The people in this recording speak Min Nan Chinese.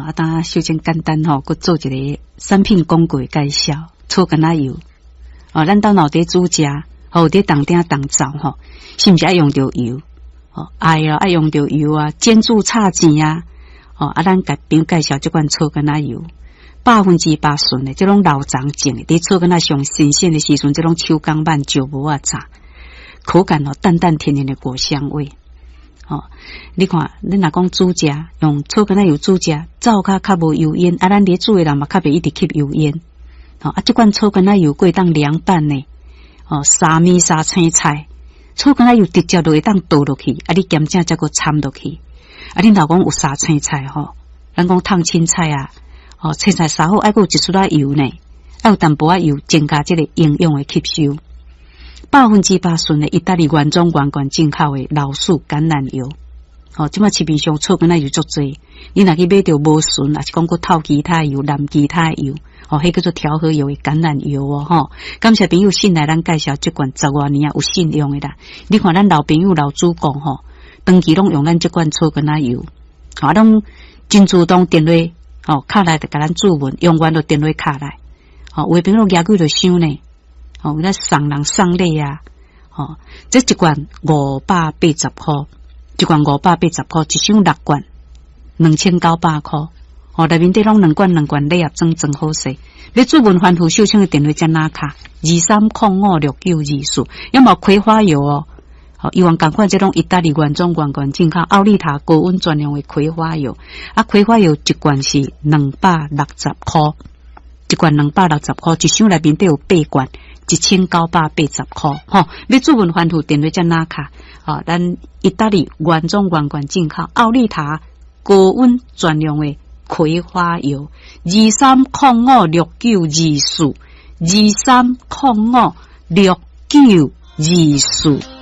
啊，當小真簡單吼，閣做一個產品廣告的介紹，草柑仔油。哦，咱兜若佇煮食，吼，佇當鼎當灶吼，是毋是愛用著油？哦，愛啊，愛用著油啊，煎煮炒煎啊。哦，啊，咱共朋友介紹這款草柑仔油，100%純的，這攏老欉種的，佇草柑仔上新鮮的時陣，這攏手工挽石磨仔榨，口感哦，淡淡甜甜的果香味。哦，你看，你若講煮食，用草柑仔油煮食，灶跤較無油煙，啊，咱佇煮的人嘛較袂一直吸油煙。哦，啊，這款草柑仔油閣會當涼拌呢，哦，沙麵沙青菜，草柑仔油直接就會當倒落去，啊，你兼正才閣摻落去。啊，恁老公有沙青菜吼，咱講燙青菜啊，哦，青菜沙好愛閣有一撮仔油呢，愛有淡薄仔油，增加這個營養的吸收。100%純的意大利原裝原罐進口的老樹橄欖油，哦，這擺市面上草柑仔油足濟，你若去買著無純，抑是講閣透其他油、淋其他油，哦，彼叫做調和油的橄欖油哦，吼。感謝朋友信賴咱介紹這罐十外年啊有信用的啦。你看咱老朋友老主顧吼，長期攏用咱這罐草柑仔油，啊，攏真主動電話，哦，敲來就共咱諮問，用完就電話敲來，哦，有的朋友舉幾就收呢。哦，咱送人送禮啊！哦，這一罐580箍，一罐580箍，一箱六罐，2900箍。哦，內面底攏兩罐兩罐禮盒裝裝好勢。欲諮問番付秀清的電話才哪敲？23056924，猶嘛葵花油哦。哦，伊往仝款這種意大利原裝原罐進口奧利塔高溫專用的葵花油。啊，葵花油一罐是260箍，一罐260箍，一箱內面底有八罐。1980箍，吼！欲諮問番付電話才哪敲？吼，咱意大利原裝原罐進口奧利塔高溫專用的葵花油，23056924，23056924。